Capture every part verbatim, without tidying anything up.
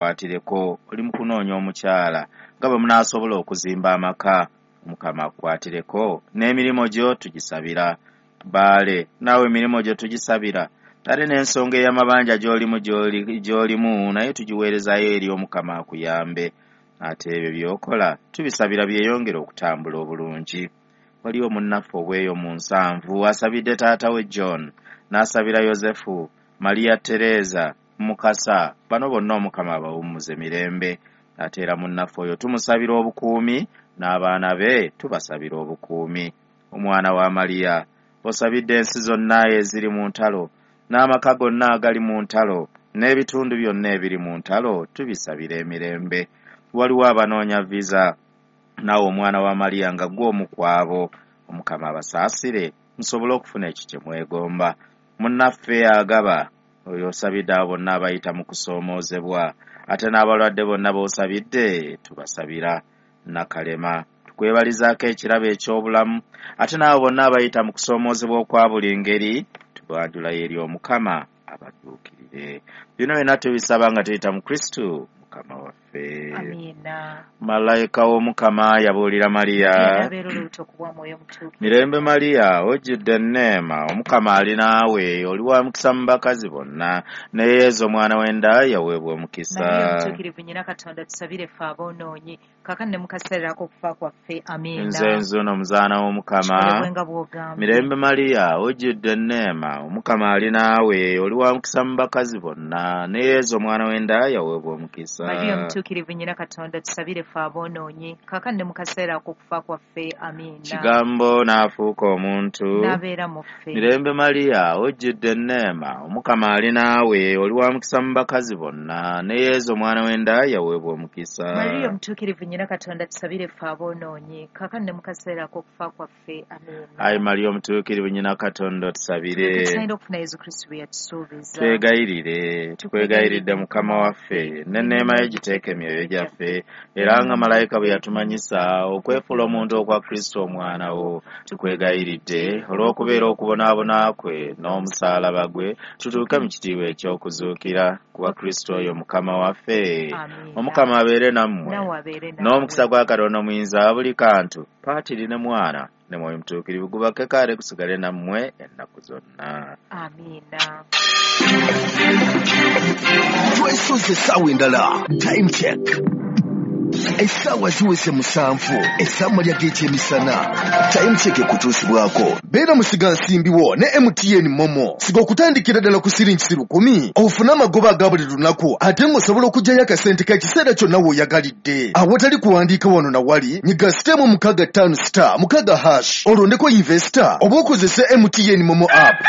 Akukwatireko, oli mu kunoonya omukyala nga bwe munaasobola okuzimba amaka. Omukama akukwatireko, n'emirimu gyo tugisabira. Baale, naawe emirimu gyo tugisabira, ate n'ensonga ey'amabanja gy'olimu gy'olimu naye tugiweerezaayo eri Omukama akuyambe. Ate ebyo by'okola tubisabira byeyongere okutambula obulungi. Waliwo munnaffe obweyo mu nsanvu asabidde taata we John, n'asabira Yosefu, Maria Teresa, Mukasa, bano bonna Omukama abawummuze mirembe. Ate era munnaffe oyo tumusabira obukuumi, n'abaana be tubasabira obukuumi. Omwana wa Maria, osabidde ensi zonna eziri mu ntalo, n'amaka gonna agali mu ntalo, n'ebitundu byonna ebiri mu ntalo, tubisabira emirembe. Waliwo abanoonya visa, naawe omwana wa Maria nga ggwe omu ku abo, Omukama abasaasire musobole okufuna ekyo kye mwegomba. Munnaffe agaba, oyo osabidde abo bonna abayita mu kusoomoozebwa, ate n'abalwadde bonna b'osabidde tubasabira. Nakalema, tukwebalizaako ekirabo eky'obulamu, ate n'abo bonna abayita mu kusoomoozebwa okwa buli ngeri tubanjulayo eri Omukama abadduukirire. Bino byonna tubisaba nga tuyita mu Kristo Mukama waffe. Amiina. Malayika w'Omukama yabuulira Mariya, Abeera olubuto ku bwa Mwoyo Mutuukirivu. Mirembe Mariya, ojjudde enneema, Omukama ali naawe, oli wa mukisa mu bakazi bonna, ne Yezu omwana w'enda yaweebwa omukisa. Mariya Omutuukirivu nnyina Katonda, tusabire ffe aboonoonyi, kaakano ne mu kaseera ak'okufa kwaffe. Amiina. Nze nzuno omuzaana w'Omukama. Kikolebwe nga bw'ogambye. Mirembe Mariya, ojjudde enneema, Omukama ali naawe, oli wa mukisa mu bakazi bonna, ne Yezu omwana w'enda yaweebwa omukisa. Mariya Omutuukirivu nnyina Katonda, tusabire ffe aboonoonyi, kaakano ne mu kaseera ak'okufa kwaffe. Amiina. Kigambo n'afuuka omuntu, n'abeera mu ffe. Mirembe Mariya, ojjudde enneema, Omukama ali naawe, oli wa mukisa mu bakazi bonna, ne Yezu omwana w'enda yaweebwa omukisa. Mariya Omutuukirivu nnyina Katonda, tusabire ffe aboonoonyi, kaakano ne mu kaseera ak'okufa kwaffe. Amiina. Ayi Mariya Omutuukirivu nnyina Katonda, otusabire. Tusaanira okufuna Yezu Kristo bye yatusuubiza. Twegayirire, tukwegayiridde Mukama waffe, n'enneema ye giteeke emyoyo gyaffe, era nga malayika bwe yatumanyisa okwefuula omuntu okwa Kristo omwana wo, tukwegayiridde olw'okubeera okubonaabona kwe n'omusaalaba gwe, tutuuke mu kitiibwa eky'okuzuukira kuba Kristo oyo Mukama waffe. Amiina. Omukama abeere nammwe, Naawe abeere naawe. n'omukisa gwa Katonda omuyinza buli kantu, Patiri ne Mwana ne Mwoyo Mutuukirivu gubakeko ate gusigale nammwe ennaku zonna. Amiina. Twesoze essaawa endala. Time check. Essaawa ziweze musanvu ez'amalya g'ekyemisana. Time check ekutuusibwako beera musigansimbi wo ne M T N Momo. Siga okutandikira ddala ku siringi lukumi ofune amagoba aga buli lunaku, ate ng'osobola okuggyayo akasente k'ekiseera kyonna w'oyagalidde awatali kuwandiika wano na wali. Nyiga sitemu mukaaga ttaano star mukaaga hash olondeko investor oba okozese M T N Momo app.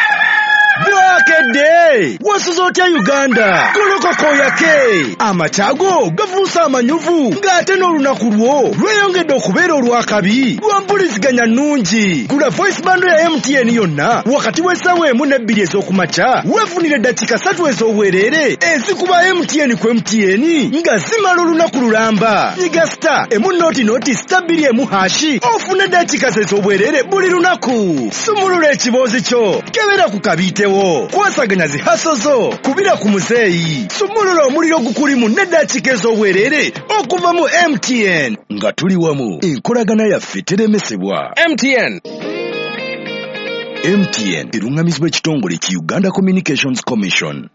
Bwakedde wasuze otya Uganda? Golokoka oyake, amakyago gafuuse amanyuvu, ng'ate n'olunaku lwo lweyongedde okubeera olw'akabi lwa mpuliziganya nnungi. Gula voice bundle ya M T N yonna wakati w'essaawa emu n'ebbiri ez'okumakya, weefunire eddakiika ssatu ez'obwereere ezikuba M T N ku M T N nga zimala olunaku lulamba. Nyiga star emu noti noti star bbiri emu hashi ofune eddakiika ez'obwereere buli lunaku. Sumulula ekiboozi kyo, kebera ku kabiitewo, kwasaganya zi haso zo, kubira ku muzeeyi, sumulula omuliro gukulimu n'eddakiika ez'obwereere okuva mu M T N. Nga tuli wamu, enkolagana yaffe teremesebwa. M T N. M T N eruŋŋamizibwa ekitongole ki Uganda Communications Commission.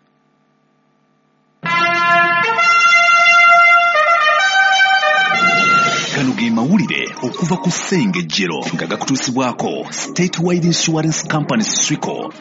Gano ge mawulire okuva ku Ssengejjero nga gakutuusibwako Statewide Insurance Company Swico.